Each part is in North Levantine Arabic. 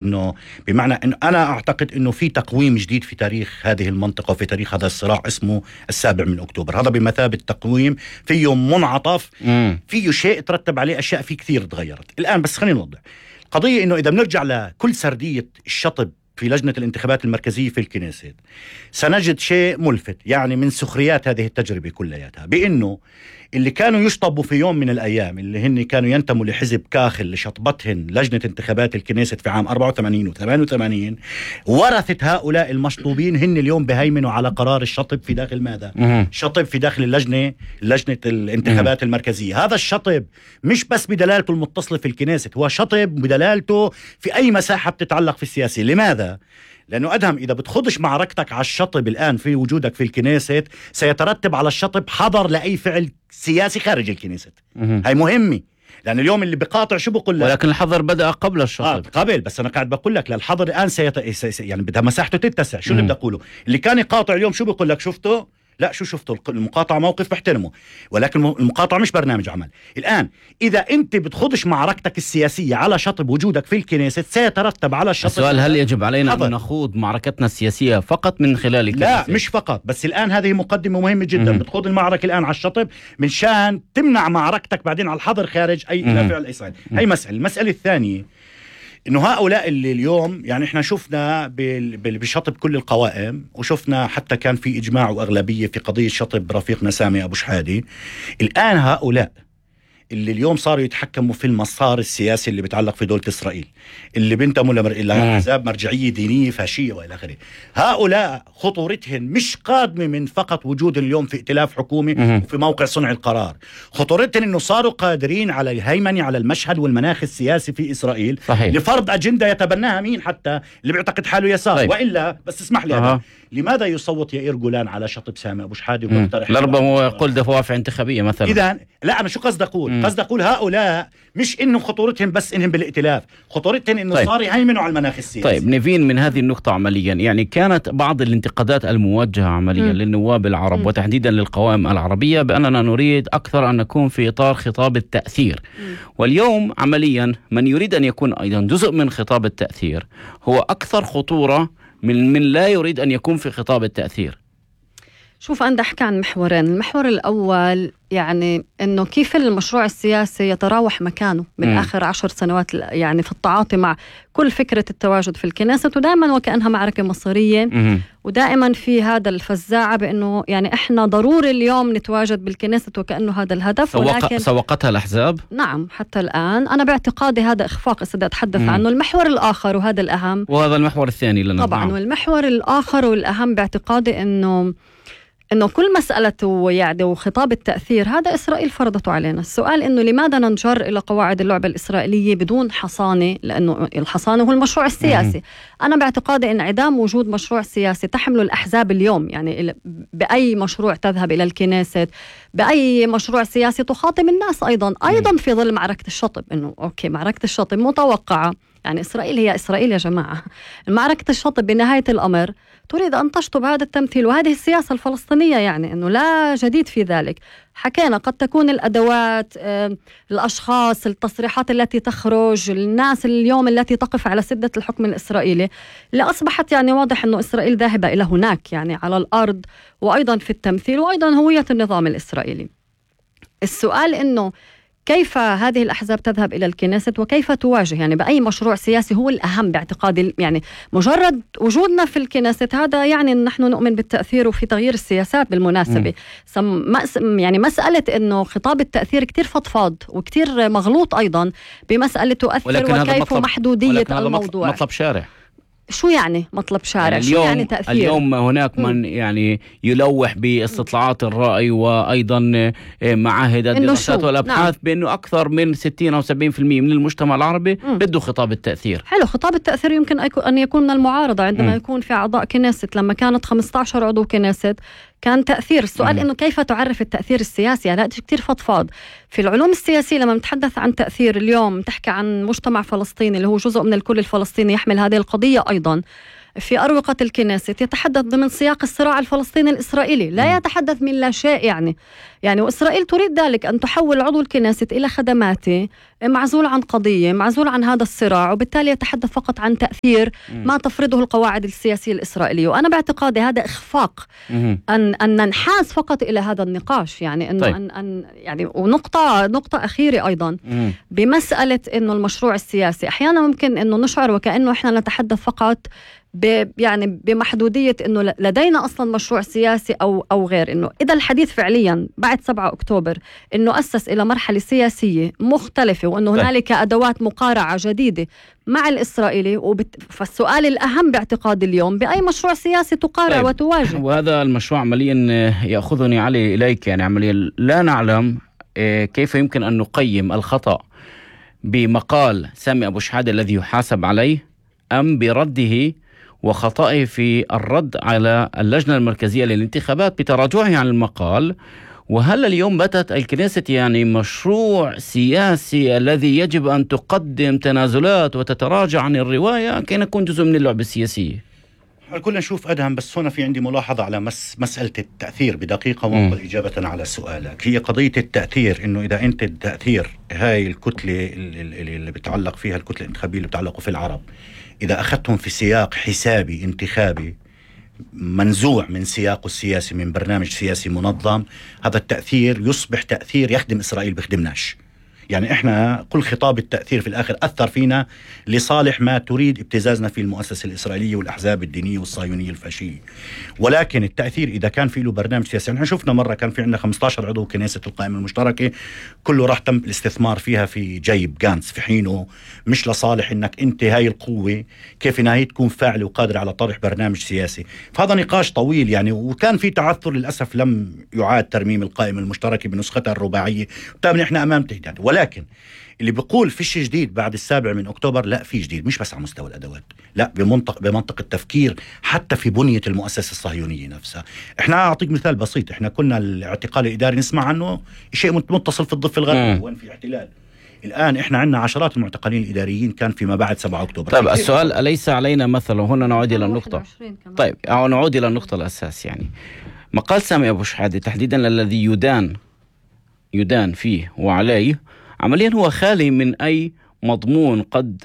إنه بمعنى إنه أنا أعتقد إنه في تقويم جديد في تاريخ هذه المنطقة وفي تاريخ هذا الصراع اسمه 7 أكتوبر. هذا بمثابة تقويم فيه منعطف، فيه شيء ترتب عليه أشياء فيه كثير تغيرت الآن. بس خلينا نوضح القضية، إنه إذا بنرجع لكل سردية الشطب في لجنة الانتخابات المركزية في الكنيست سنجد شيء ملفت، يعني من سخريات هذه التجربة كلياتها، بأنه اللي كانوا يشطبوا في يوم من الأيام، اللي هن كانوا ينتموا لحزب كاخل لشطبتهن لجنة انتخابات الكنيست في عام 84 و88، ورثت هؤلاء المشطوبين هن اليوم بهيمنوا على قرار الشطب في داخل ماذا؟ شطب في داخل لجنة الانتخابات المركزية. هذا الشطب مش بس بدلالته المتصلة في الكنيست، هو شطب بدلالته في أي مساحة بتتعلق في السياسة. لماذا؟ لأنه أدهم إذا بتخضش معركتك على الشطب الآن في وجودك في الكنيست، سيترتب على الشطب حظر لأي فعل سياسي خارج الكنيست. هاي مهمة، لأن اليوم اللي بقاطع شو بقول لك؟ ولكن الحظر بدأ قبل الشطب. قبل، بس أنا قاعد بقول لك للحظر الآن يعني بدها مساحته تتسع. شو اللي بدي أقوله؟ اللي كان يقاطع اليوم شو بقول لك؟ شفته؟ لا، شو شفتوا؟ المقاطعة موقف بحترمه، ولكن المقاطعة مش برنامج عمل. الآن إذا أنت بتخضش معركتك السياسية على شطب وجودك في الكنيست، سيترتب على الشطب. السؤال، هل يجب علينا أن نخوض معركتنا السياسية فقط من خلال الكنيست؟ لا، مش فقط، بس الآن هذه مقدمة مهمة جدا. بتخوض المعركة الآن على الشطب من شان تمنع معركتك بعدين على الحظر خارج أي إلى فعل أي صعيد. هي مسألة. المسألة الثانية إنه هؤلاء اللي اليوم يعني إحنا شفنا بشطب كل القوائم، وشفنا حتى كان في إجماع وأغلبية في قضية شطب رفيقنا سامي أبو شحادي. الآن هؤلاء اللي اليوم صاروا يتحكموا في المسار السياسي اللي بيتعلق في دولة إسرائيل، اللي بينتموا لأحزاب مرجعية دينية فاشية وإلى آخره، هؤلاء خطورتهم مش قادمة من فقط وجود اليوم في ائتلاف حكومي وفي موقع صنع القرار. خطورتهم إنه صاروا قادرين على الهيمنة على المشهد والمناخ السياسي في إسرائيل. صحيح. لفرض أجندة يتبناها مين حتى اللي بيعتقد حاله يسار. طيب. وإلا بس اسمح لي لماذا يصوت يائير جولان على شطب سامي أبو شحادي ويقترح لربما يقول دوافع انتخابية مثلا؟ إذا لا، أنا شو قصد أقول؟ قصد أقول هؤلاء مش إنه خطورتهم بس إنهم بالائتلاف، خطورتهم إنه طيب. صار يهيمنوا على المناخ السياسي. طيب نيفين، من هذه النقطة عمليا، يعني كانت بعض الانتقادات الموجهة عمليا للنواب العرب وتحديدا للقوائم العربية بأننا نريد أكثر أن نكون في إطار خطاب التأثير. واليوم عمليا من يريد أن يكون أيضا جزء من خطاب التأثير هو أكثر خطورة من لا يريد أن يكون في خطاب التأثير. شوف، أنا أحكي عن محورين. المحور الأول يعني أنه كيف المشروع السياسي يتراوح مكانه من آخر 10 سنوات، يعني في التعاطي مع كل فكرة التواجد في الكنيست، ودائما وكأنها معركة مصيرية، ودائما في هذا الفزاعة بأنه يعني إحنا ضروري اليوم نتواجد بالكنيست وكأنه هذا الهدف. ولكن سوقتها الأحزاب. نعم، حتى الآن أنا باعتقادي هذا إخفاق إذا أتحدث عنه. المحور الآخر وهذا الأهم، وهذا المحور الثاني لنا طبعا. والمحور الآخر والأهم باعتقادي إنه كل مسألة يعني وخطاب التأثير هذا إسرائيل فرضته علينا. السؤال إنه لماذا ننجر إلى قواعد اللعبة الإسرائيلية بدون حصانة؟ لأنه الحصانة هو المشروع السياسي. أنا باعتقادي إن عدم وجود مشروع سياسي تحمله الأحزاب اليوم، يعني بأي مشروع تذهب إلى الكنيست، بأي مشروع سياسي تخاطب الناس أيضا في ظل معركة الشطب. إنه أوكي، معركة الشطب متوقعة، يعني إسرائيل هي إسرائيل يا جماعة. معركة الشطب بنهاية الأمر تريد أن تشطب هذا التمثيل وهذه السياسة الفلسطينية، يعني أنه لا جديد في ذلك. حكينا قد تكون الأدوات، الأشخاص، التصريحات التي تخرج، الناس اليوم التي تقف على سدة الحكم الإسرائيلي اللي أصبحت يعني واضح أنه إسرائيل ذاهبة إلى هناك، يعني على الأرض وأيضا في التمثيل وأيضا هوية النظام الإسرائيلي. السؤال إنه كيف هذه الأحزاب تذهب إلى الكنيست وكيف تواجه يعني بأي مشروع سياسي هو الأهم باعتقادي. يعني مجرد وجودنا في الكنيست هذا يعني نحن نؤمن بالتأثير وفي تغيير السياسات بالمناسبة. يعني مسألة إنه خطاب التأثير كتير فضفاض وكتير مغلوط أيضا بمسألة تؤثر وكيف محدودية الموضوع. مطلب شارع. شو يعني مطلب شارع؟ يعني شو يعني تأثير؟ اليوم هناك من يعني يلوح باستطلاعات الرأي وأيضا معاهد الدراسات والأبحاث بأنه أكثر من 60 أو 70% من المجتمع العربي بده خطاب التأثير. حلو، خطاب التأثير يمكن أن يكون من المعارضة عندما يكون في أعضاء كنيست. لما كانت 15 عضو كنيست كان تأثير. السؤال إنه كيف تعرف التأثير السياسي؟ هذا كتير فضفاض. في العلوم السياسية لما نتحدث عن تأثير اليوم تحكي عن مجتمع فلسطيني اللي هو جزء من الكل الفلسطيني يحمل هذه القضية أيضا. في أروقة الكنيسة يتحدث ضمن سياق الصراع الفلسطيني الإسرائيلي، لا يتحدث من لا شيء يعني وإسرائيل تريد ذلك، أن تحول عضو الكنيسة إلى خدماته، معزول عن قضية، معزول عن هذا الصراع، وبالتالي يتحدث فقط عن تأثير ما تفرضه القواعد السياسية الإسرائيلية. وأنا باعتقادي هذا إخفاق أن ننحاز فقط إلى هذا النقاش، يعني إنه طيب. يعني ونقطة أخيرة أيضا بمسألة إنه المشروع السياسي أحيانا ممكن إنه نشعر وكأنه إحنا نتحدث فقط يعني بمحدودية إنه لدينا أصلا مشروع سياسي أو غير. إنه إذا الحديث فعليا بعد 7 أكتوبر إنه أسس إلى مرحلة سياسية مختلفة، وإنه هنالك أدوات مقارعة جديدة مع الإسرائيلي، فالسؤال الأهم باعتقاد اليوم بأي مشروع سياسي تقارع وتواجه. وهذا المشروع عمليا يأخذني علي إليك، يعني عمليا لا نعلم كيف يمكن أن نقيم الخطأ بمقال سامي أبو شحادة الذي يحاسب عليه، أم برده وخطأه في الرد على اللجنة المركزية للانتخابات بتراجعه عن المقال. وهل اليوم باتت الكنيسة يعني مشروع سياسي الذي يجب أن تقدم تنازلات وتتراجع عن الرواية كي نكون جزء من اللعبة السياسية؟ كلنا نشوف أدهم، بس هنا في عندي ملاحظة على مسألة التأثير بدقيقة وانقل إجابة على سؤالك. هي قضية التأثير، إنه إذا أنت التأثير هاي الكتلة اللي بتعلق فيها الكتلة الانتخابية اللي بتعلقوا في العرب، إذا أخذتهم في سياق حسابي انتخابي منزوع من سياقه السياسي، من برنامج سياسي منظم، هذا التأثير يصبح تأثير يخدم إسرائيل بيخدمناش. يعني إحنا كل خطاب التأثير في الآخر أثر فينا لصالح ما تريد ابتزازنا في المؤسسة الإسرائيلية والأحزاب الدينية والصهيونية الفاشية. ولكن التأثير إذا كان في له برنامج سياسي، نحن شفنا مرة كان في عندنا 15 عضو كنيسة القائمة المشتركة، كله راح تم الاستثمار فيها في جيب جانس في حينه، مش لصالح إنك أنت هاي القوة كيف إنها هي تكون فاعلة وقادرة على طرح برنامج سياسي. فهذا نقاش طويل يعني، وكان في تعثر للأسف، لم يعاد ترميم القائمة المشتركة بنسختها الرباعية، وبالتالي إحنا أمام تهديد. ولكن اللي بيقول فيش جديد بعد 7 أكتوبر، لا، في جديد، مش بس على مستوى الأدوات، لا، بمنطق التفكير حتى في بنية المؤسسة الصهيونية نفسها. احنا أعطيك مثال بسيط، احنا كنا الاعتقال الإداري نسمع عنه شيء متصل في الضفة الغربية وين في احتلال. الآن احنا عندنا عشرات المعتقلين الإداريين كان فيما بعد 7 أكتوبر. طيب السؤال أليس علينا مثلا، هنا نعود إلى النقطة، طيب نعود إلى النقطة الأساس، يعني مقال سامي أبو شحادة تحديدا الذي يدان فيه وعليه عمليا هو خالي من أي مضمون قد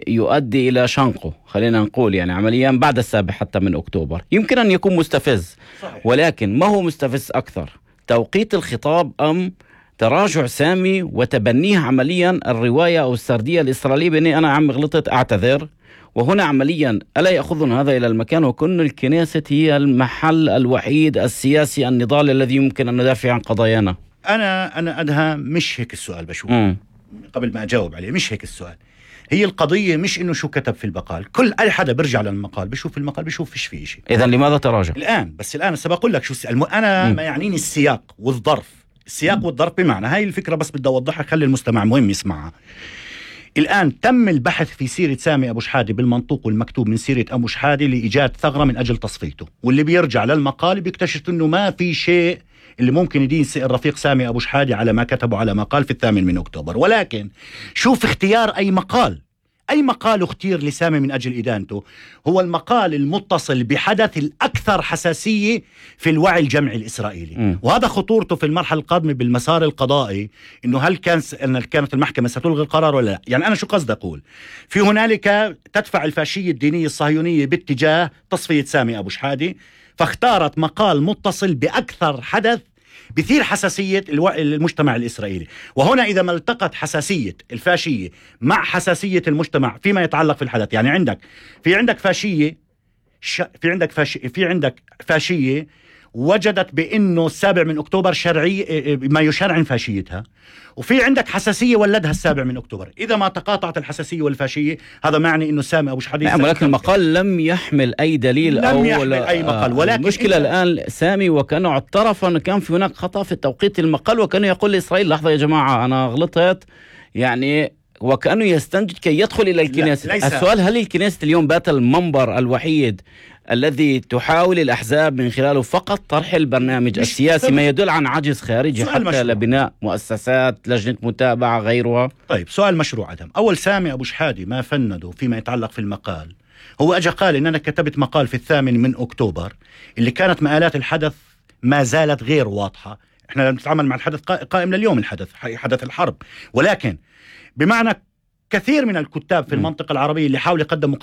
يؤدي إلى شنقه، خلينا نقول يعني عمليا بعد 7 حتى من أكتوبر يمكن أن يكون مستفز. صحيح. ولكن ما هو مستفز أكثر، توقيت الخطاب أم تراجع سامي وتبنيه عمليا الرواية أو السردية الإسرائيلية بأني أنا عم غلطت أعتذر؟ وهنا عمليا ألا يأخذنا هذا إلى المكان وكن الكنيسة هي المحل الوحيد السياسي النضال الذي يمكن أن ندافع عن قضايانا؟ أنا أدها مش هيك السؤال بشوف قبل ما أجاوب عليه، مش هيك السؤال. هي القضية مش إنه شو كتب في المقال، كل أي حدا برجع للمقال بشوف المقال بشوف فيش فيه شيء. إذن لماذا تراجع؟ الآن سبقول لك شو أنا ما يعنيني السياق والظرف. السياق والظرف بمعنى هاي الفكرة بس بدي أوضحها، خلي المستمع مهم يسمعها. الآن تم البحث في سيرة سامي أبو شحادة بالمنطوق والمكتوب من سيرة أبو شحادة لإيجاد ثغرة من أجل تصفيته، واللي بيرجع للمقال بيكتشف إنه ما في شيء اللي ممكن يدين الرفيق سامي أبو شحادة على ما كتبه على مقال في 8 أكتوبر. ولكن شوف اختيار أي مقال اختير لسامي من أجل إدانته، هو المقال المتصل بحدث الأكثر حساسية في الوعي الجمعي الإسرائيلي. وهذا خطورته في المرحلة القادمة بالمسار القضائي، إنه هل كانت المحكمة ستلغي القرار ولا لا. يعني أنا شو قصد أقول، في هنالك تدفع الفاشية الدينية الصهيونية باتجاه تصفية سامي أبو شحادة، فاختارت مقال متصل بأكثر حدث بثير حساسية المجتمع الإسرائيلي. وهنا إذا ما التقت حساسية الفاشية مع حساسية المجتمع فيما يتعلق في الحدث، يعني في عندك فاشية وجدت بأنه 7 أكتوبر شرعي ما يشرعن فاشيتها، وفي عندك حساسية ولدها 7 أكتوبر. إذا ما تقاطعت الحساسية والفاشية هذا معني أنه سامي أبو شحادة ولكن المقال لم يحمل أي دليل لم يحمل أي مقال. ولكن المشكلة الآن سامي وكأنه اعترف أن كان في هناك خطأ في توقيت المقال، وكأنه يقول لإسرائيل لحظة يا جماعة أنا غلطت، يعني وكأنه يستنجد كي يدخل إلى الكنيسة. السؤال، هل الكنيسة اليوم بات المنبر الوحيد الذي تحاول الأحزاب من خلاله فقط طرح البرنامج السياسي، ما يدل عن عجز خارجي حتى لبناء مؤسسات، لجنة متابعة غيرها؟ طيب سؤال مشروع عدم. أول، سامي أبو شحادة ما فنده فيما يتعلق في المقال هو أجا قال إن أنا كتبت مقال في 8 أكتوبر اللي كانت مآلات الحدث ما زالت غير واضحة. إحنا نتعامل مع الحدث قائم لليوم، الحدث حدث الحرب، ولكن بمعنى كثير من الكتاب في المنطقة العربية اللي حاولوا يقدموا